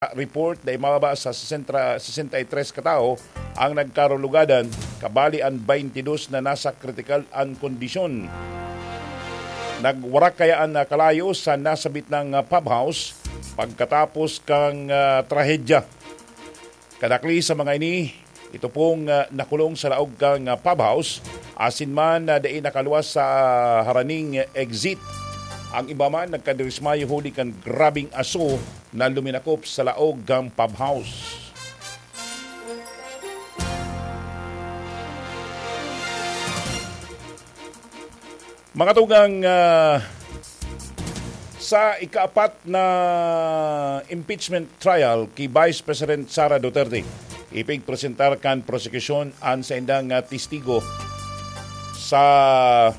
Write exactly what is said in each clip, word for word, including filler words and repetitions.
report, dai mababa sa sesenta, sesenta y tres ka tawo ang nagkarulugadan, kabali an baynte dos na nasa kritikal an kondisyon. Nagwarak kaya an, ah, kalayo sa nasabit nang, ah, pub house pagkatapos kang, ah, trahedya. Kadakli sa mga ini, ito pong, ah, nakulong sa laog kan, ah, pub house, asin man na dai nakaluwas sa, ah, haraning exit. Ang iba man nagkadismayo huli kan grabeng aso na luminakop sa laog kan pub house. Mga tugang, ah, sa ikaapat na impeachment trial ki Vice President Sara Duterte, ipigpresentar kan prosekusyon an saindang, ah, testigo sa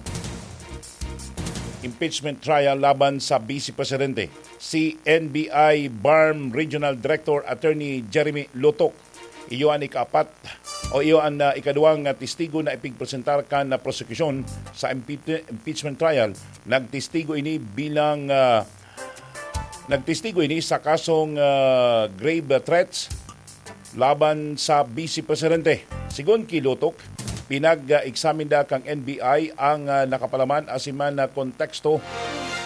impeachment trial laban sa Vice Presidente, si N B I BARMM Regional Director Attorney Jeremy Lotok. Iyo an ikaapat o iyo an, ah, ikaduwang, ah, testigo na ipigpresentar kan, ah, prosekusyon sa impeach-, impeachment trial. Nagtestigo ini bilang, ah, nagtestigo ini sa kasong, ah, grave threats laban sa Vice Presidente. Sigon ki Lotok, pinag-examine da kan N B I ang, ah, nakapalaman asin man na konteksto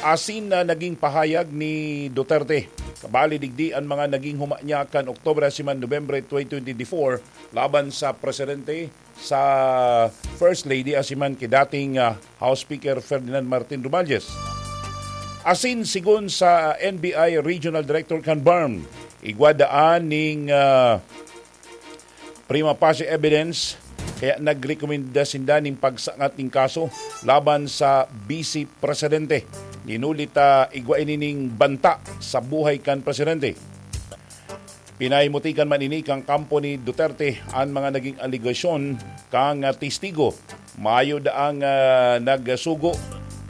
asin na naging pahayag ni Duterte. Kabali digdi an mga naging huma niya kan Oktubre asin man Nobyembre twenty twenty-four laban sa presidente, sa First Lady asin man ki dating, ah, House Speaker Ferdinand Martin Romualdez. Asin sigon sa N B I Regional Director kan BARMM, igwa daan ning, ah, prima facie evidence, kaya nagrekomenda sinda ning pagsangat ning kaso laban sa Vice Presidente. Dinuli ta igwa ini ning banta sa buhay kan presidente. Pinahimutikan man ini kan kampo ni Duterte an mga naging alegasyon kan, ah, testigo. Mayo daang, ah, nagsugo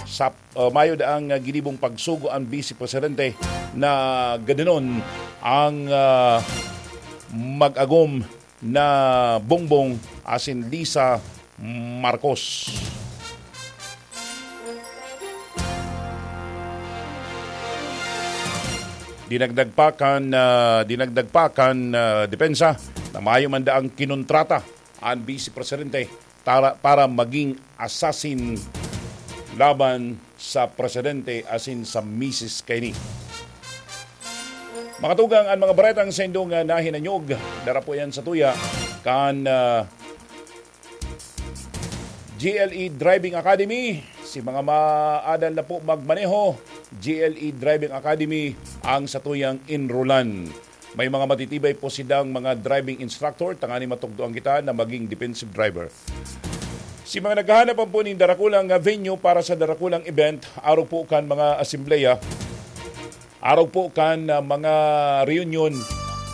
sa, ah, mayo daang, ah, ginibong pagsugo an Vice Presidente na gadanon ang, ah, mag-agom na Bongbong asin Lisa Marcos. Dinagdag pa kan, ah, dinagdag pa kan, ah, depensa na mayo man daang kinontrata an Vice Presidente tara-, para maging assassin laban sa presidente asin sa misis kaini. Mga tugang, an mga baretang saindong, ah, nahinanyog, dara po yan sa tuya kan, ah, G L E Driving Academy. Si mga maadal na po magmaneho, G L E Driving Academy ang satuyang enrollan. May mga matitibay po sidang mga driving instructor, tanganing matukdoan kita na maging defensive driver. Si mga naghahanap po nin darakulang, ah, venue para sa darakulang event, arog po kan mga asembleya, arog po kan, ah, mga reunion,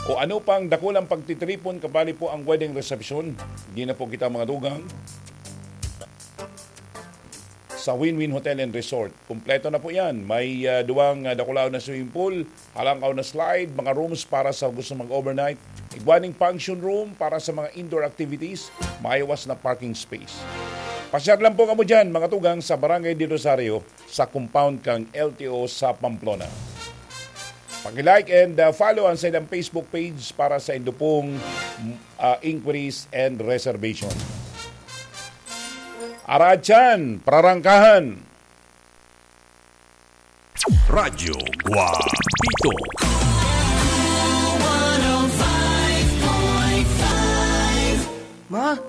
o ano pang dakulang pagtitiripon, kabali po ang wedding reception, di na po kita mga tugang sa Win-Win Hotel and Resort. Kompleto na po yan. May, ah, duwang, ah, dakulaon na swimming pool, halangkaw na slide, mga rooms para sa gusto mag-overnight, igwa ning function room para sa mga indoor activities, maiwas na parking space. Pasyar lang po kamo dyan, mga tugang, sa Barangay de Rosario, sa compound kan L T O sa Pamplona. Paki-like and, ah, follow ang saindang Facebook page para sa indo pong, ah, inquiries and reservation. Aratyan, prarangkahan. Radyo Guapito. Ma,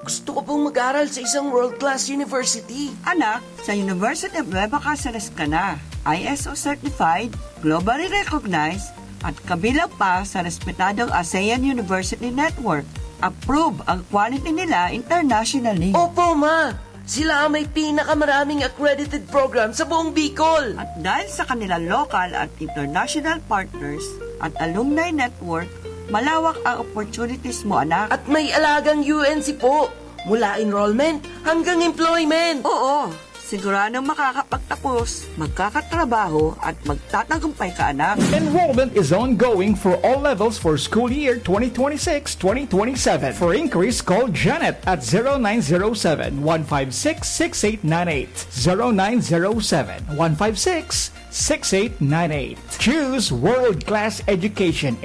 gusto ko pong mag-aral sa isang world-class university. Anak, sa University of Nueva Cáceres ka na. I S O certified, globally recognized, at kabilang pa sa respetadong ASEAN University Network. Approve ang quality nila internationally. Opo, ma! Sila ang may pinakamaraming accredited program sa buong Bicol. At dahil sa kanilang local at international partners at alumni network, malawak ang opportunities mo, anak. At may alagang U N C po, mula enrollment hanggang employment. Oo, siguradong makakapagtapos, magkakatrabaho, at magtatagumpay ka, anak. Enrollment is ongoing for all levels for school year twenty twenty-six twenty twenty-seven. For inquiries, call Janet at zero nine zero seven, one five six, six eight nine eight. Zero nine zero seven, one five six, six eight nine eight. Choose world-class education